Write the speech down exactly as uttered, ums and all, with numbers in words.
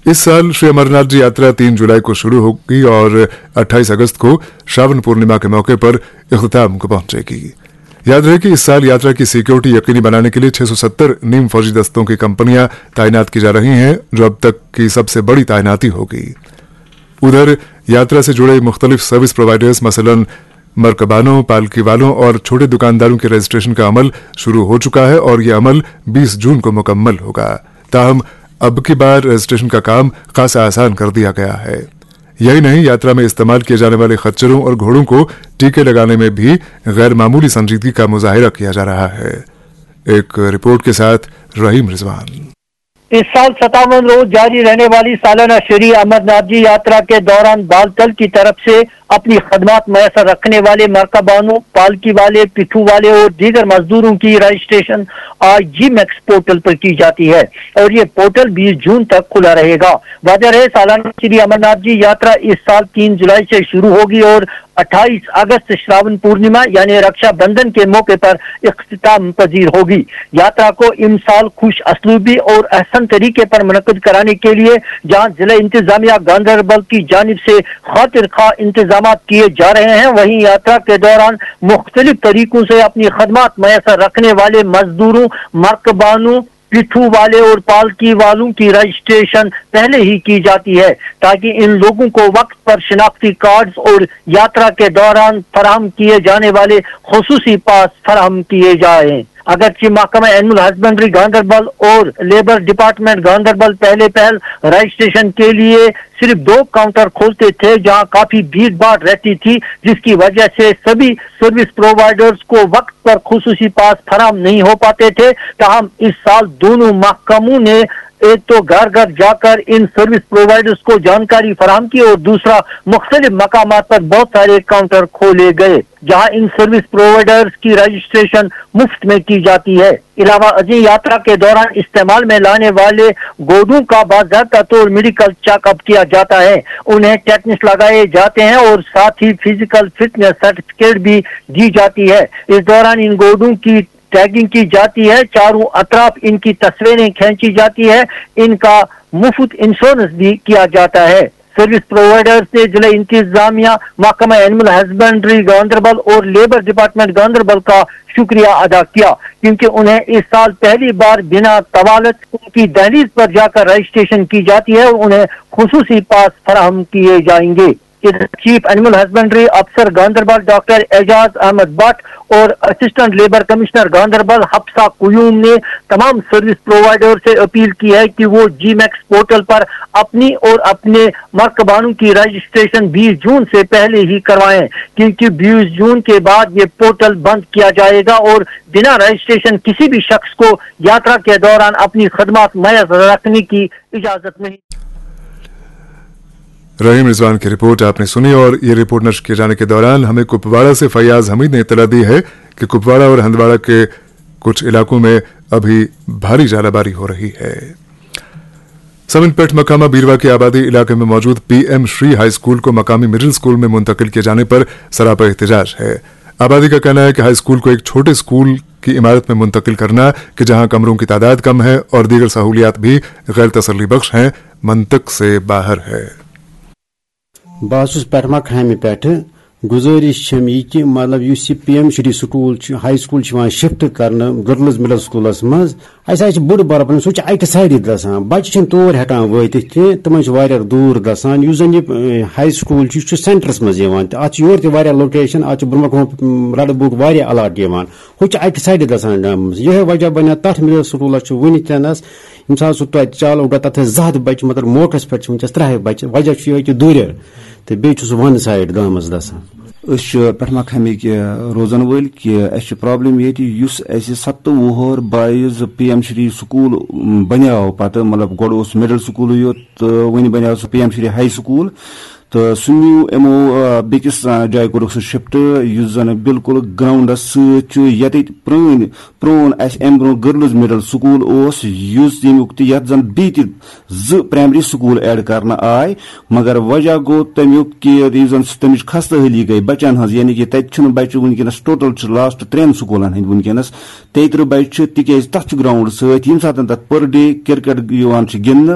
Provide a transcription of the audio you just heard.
इस साल श्री अमरनाथ जी यात्रा तीन जुलाई को शुरू होगी और अट्ठाईस अगस्त को श्रावण पूर्णिमा के मौके पर इख्तिताम को पहुंचेगी। याद रहे कि इस साल यात्रा की सिक्योरिटी यकीनी बनाने के लिए छह सौ सत्तर नीम फौजी दस्तों की कंपनियां तैनात की जा रही हैं, जो अब तक की सबसे बड़ी तैनाती होगी। उधर यात्रा से जुड़े मुख्तलिफ सर्विस प्रोवाइडर्स, मसलन मरकबानों, पालकी वालों और छोटे दुकानदारों के रजिस्ट्रेशन का अमल शुरू हो चुका है और यह अमल बीस जून को मुकम्मल होगा। ताहम, अब की बार रजिस्ट्रेशन का काम खासा आसान कर दिया गया है। यही नहीं, यात्रा में इस्तेमाल किए जाने वाले खच्चरों और घोड़ों को टीके लगाने में भी गैर मामूली संजीदगी का मुजाहिरा किया जा रहा है। एक रिपोर्ट के साथ रहीम रिजवान। इस साल सत्तावन रोज जारी रहने वाली सालाना श्री अमरनाथ जी यात्रा के दौरान बालतल की तरफ से अपनी खदमात मैसर रखने वाले मरकबानों, पालकी वाले, पिट्ठू वाले और दीगर मजदूरों की रजिस्ट्रेशन आज जी मैक्स पोर्टल पर की जाती है और ये पोर्टल बीस जून तक खुला रहेगा। वजह है, सालाना श्री अमरनाथ जी यात्रा इस साल तीन जुलाई से शुरू होगी और अट्ठाईस अगस्त श्रावण पूर्णिमा यानी रक्षाबंधन के मौके पर इख्तिताम पजीर होगी। यात्रा को इमसाल खुश असलूबी और अहसन तरीके पर मुनक्कद कराने के लिए जहां जिला इंतजामिया गांधरबल की जानिब से खातिर खा इंतजाम किए जा रहे हैं, वहीं यात्रा के दौरान मुख्तलिफ तरीकों से अपनी खदमात मैसर रखने वाले मजदूरों, मरकबानों, पिट्ठू वाले और पालकी वालों की रजिस्ट्रेशन पहले ही की जाती है, ताकि इन लोगों को वक्त पर शिनाख्ती कार्ड्स और यात्रा के दौरान फराहम किए जाने वाले खसूसी पास फराहम किए जाएं। अगरचे महकमा एनिमल हस्बेंड्री गांधरबल और लेबर डिपार्टमेंट गांधरबल पहले पहल रजिस्ट्रेशन के लिए सिर्फ दो काउंटर खोलते थे, जहां काफी भीड़ भाड़ रहती थी, जिसकी वजह से सभी सर्विस प्रोवाइडर्स को वक्त पर खसूसी पास फराहम नहीं हो पाते थे। ताहम, इस साल दोनों महकमों ने एक तो घर घर जाकर इन सर्विस प्रोवाइडर्स को जानकारी फराहम की और दूसरा, मुख्तलिफ मकामात पर बहुत सारे काउंटर खोले गए, जहां इन सर्विस प्रोवाइडर्स की रजिस्ट्रेशन मुफ्त में की जाती है। अलावा अजी, यात्रा के दौरान इस्तेमाल में लाने वाले घोड़ों का बाकायदा तौर मेडिकल चेकअप किया जाता है, उन्हें टेटनस लगाए जाते हैं और साथ ही फिजिकल फिटनेस सर्टिफिकेट भी दी जाती है। इस दौरान इन घोड़ों की टैगिंग की जाती है, चारों अतराफ इनकी तस्वीरें खींची जाती है, इनका मुफ्त इंश्योरेंस भी किया जाता है। सर्विस प्रोवाइडर्स ने जिला इंतजामिया, महकमा एनिमल हस्बेंड्री गांधरबल और लेबर डिपार्टमेंट गांधरबल का शुक्रिया अदा किया, क्योंकि उन्हें इस साल पहली बार बिना तवालत उनकी दहलीज पर जाकर रजिस्ट्रेशन की जाती है और उन्हें खसूसी पास फराहम किए जाएंगे। इधर चीफ एनिमल हस्बेंड्री अफसर गांधरबल डॉक्टर एजाज अहमद भट्ट और assistant labour commissioner Ganderbal Hafsa Qayoom ने तमाम सर्विस प्रोवाइडर से अपील की है कि वो जी मैक्स पोर्टल पर अपनी और अपने मरकबानों की रजिस्ट्रेशन बीस जून से पहले ही करवाएं, क्योंकि बीस जून के बाद ये पोर्टल बंद किया जाएगा और बिना रजिस्ट्रेशन किसी भी शख्स को यात्रा के दौरान अपनी खदमात मैसर रखने की इजाजत नहीं। रहीम रिजवान की रिपोर्ट आपने सुनी और ये रिपोर्ट नशर किए जाने के दौरान हमें कुपवाड़ा से फैयाज हमीद ने इतला दी है कि कुपवाड़ा और हंदवाड़ा के कुछ इलाकों में अभी भारी जालाबारी हो रही है। समिन पेठ मकामा बीरवा की आबादी इलाके में मौजूद पीएम श्री हाई स्कूल को मकामी मिडिल स्कूल में मुंतकिल किए जाने पर सरापा एहतजाज है। आबादी का कहना है कि हाई स्कूल को एक छोटे स्कूल की इमारत में मुंतकिल करना कि जहां कमरों की तादाद कम है और दीगर सहूलियात भी गैर तसल्ली बख्श हैं, मंतक से बाहर है। بہٕ حظ چھُس پیٹھ مکھامہِ پٮ۪ٹھٕ۔ گُزٲرِش چھَم یہِ کہِ مطلب یُس یہِ پی ایم شری سکوٗل چھُ، ہاے سکوٗل چھُ یِوان شفٹ کرنہٕ گٔرلز مڈل سکوٗلس منٛز۔ اَسہِ حظ چھِ بٔڑ بارٕ پرابلم، سُہ چھُ اَکہِ سایڈٕ گژھان، بَچہٕ چھِنہٕ تور ہٮ۪کان وٲتِتھ کینٛہہ، تِمن چھُ واریاہ دوٗر گژھان۔ یُس زَن یہِ، اے، ہاے سکوٗل چھُ، یہِ چھُ سینٹرس منٛز یِوان تہٕ اَتھ چھِ یورٕ تہِ واریاہ لوکیشن، اَتھ چھُ برونٛہہ کُن لَڑٕ بُک واریاہ الاٹ یِوان، ہُہ چھُ اَکہِ سایڈٕ گژھان گامہٕ منٛز۔ یِہوٚے وجہ بَنیو تَتھ مِڈل سکوٗلَس چھُ وٕنہِ تہِ نَس، ییٚمہِ ساتہٕ سُہ توتہِ چالو گوٚو، تَتھ ٲسۍ زٕ ہَتھ بَچہٕ، مگر موقعس پٮ۪ٹھ چھِ وٕنکیٚس ترٛےٚ ہَتھ بَچہٕ، وجہ چھُ یِہوٚے کہِ دوٗرٮ۪ر تہٕ بیٚیہِ چھُ سُہ وَن سایڈ گامَس گژھان۔ أسۍ چھِ پٮ۪ٹھ مکھامِکۍ، اے، روزن وٲلۍ کہِ اَسہِ چھِ پرابلم ییٚتہِ، یُس اَسہِ ستہٕ وُہُر بایِز پی ایم شری سکوٗل، م، بنیاو پتہٕ، مطلب، گۄڈٕ اوس مڈل سکوٗلٕے یوت تہٕ وۄنۍ بنیاو سُہ پی ایم شری ہاے سکوٗل، تہٕ سُہ نیوٗ یِمو، آ، بیٚکِس، آ، جایہِ کوٚرُکھ سُہ شفٹ، یُس زَن بالکل گراوُنڈَس سۭتۍ چھُ، ییٚتٮ۪تھ پرٛٲنۍ، پرٛون اَسہِ اَمہِ برٛونٛہہ گٔرلٕز مِڈل سکوٗل اوس، یُس ییٚمیُک تہِ، یَتھ زَن بیٚیہِ تہِ زٕ پرٛایمری سکوٗل ایڈ کرنہٕ آے، مگر وجہ گوٚو تَمیُک کہِ یُس زَن سُہ تَمِچ خستہٕ حٲلی گٔے بَچَن ہٕنٛز، یعنی کہِ تَتہِ چھِنہٕ بَچہٕ وٕنکیٚنَس، ٹوٹل چھِ لاسٹ ترٛٮ۪ن سکوٗلَن ہٕنٛدۍ وٕنکیٚنَس تیٚیہِ تٕرٛہ بَچہٕ چھِ، تِکیٛازِ تَتھ چھُ گراوُنٛڈ سۭتۍ، ییٚمہِ ساتہٕ تَتھ پٔر ڈے کِرکٹ یِوان چھِ گِنٛدنہٕ،